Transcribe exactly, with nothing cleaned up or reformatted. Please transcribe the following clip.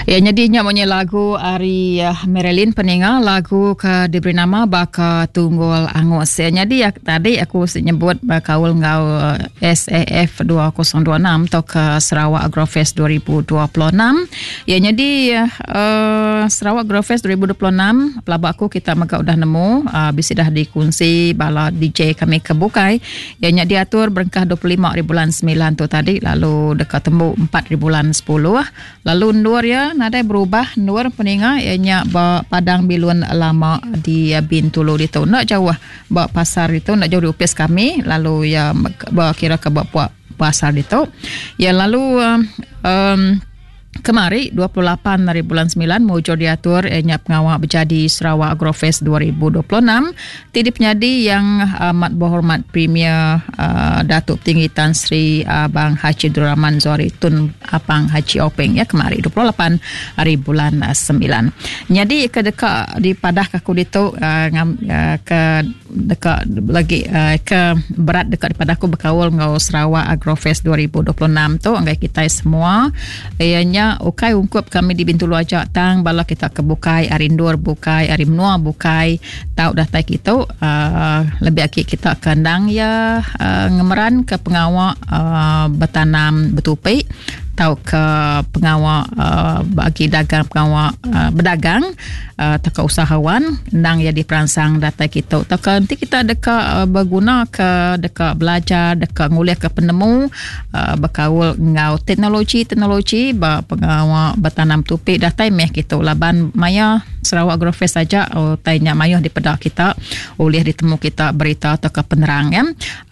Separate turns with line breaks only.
Ya, jadi nya munyi lagu ari uh, Marilyn peninga, lagu ke diberi nama Baka Tunggul Angus. Ya, jadi ya, tadi aku nyebut bekaul enggau uh, S A F dua ribu dua puluh enam atau ke Sarawak Agrofest dua ribu dua puluh enam. Ya, jadi uh, Sarawak Agrofest dua ribu dua puluh enam pelaba aku kita mega udah nemu, uh, bisi dah dikunsi bala D J kami ke bukai. Ya, nya diatur berengkah dua puluh lima hari bulan sembilan tu tadi, lalu dekat tembu empat hari bulan sepuluh. Lalu endur ya nadai berubah, endur peninga ianya ba Padang Bilun Lama di Bintulu itu, nak jauh ba pasar itu, nak jauh di office kami, lalu ya ba kira ke ba pasar itu ya. Lalu um, um, kemari dua puluh lapan hari bulan sembilan mujur diatur ianya pengawa berjadi Sarawak Agrofest dua ribu dua puluh enam ti dipenyadi Yang Amat Berhormat Premier uh, Datuk Tinggi Tan Sri Abang Haji Abdul Rahman Zohari Tun Abang Haji Openg ya, kemari dua puluh lapan hari bulan sembilan. Jadi ke deka di padah ke aku ditu uh, ngam, uh, ke deka lagi uh, ke berat deka di padah aku berkaul ngau Sarawak Agrofest dua ribu dua puluh enam tu anggai kita semua, ianya ukai ungkup kami di Bintulu aja, tang bala kita ke bukai, ari endur bukai, ari menua bukai tau datai kita, uh, lebih agi kita kendang ya uh, ngemeran ke pengawa uh, bertanam betupi tau ke pengawa uh, bagi dagang, pengawa uh, berdagang uh, atau ke usahawan, endang ya diperansang datai kita, atau ke nanti kita deka uh, berguna ke deka belajar, deka ngulih ke penemu uh, berkaul ngau teknologi teknologi ba pengawa bertanam tupi, datai meh kita laban maya Sarawak Agrofest saja oh, tanya mayuh di pedak kita oleh ditemu kita berita atau ke penerang ya.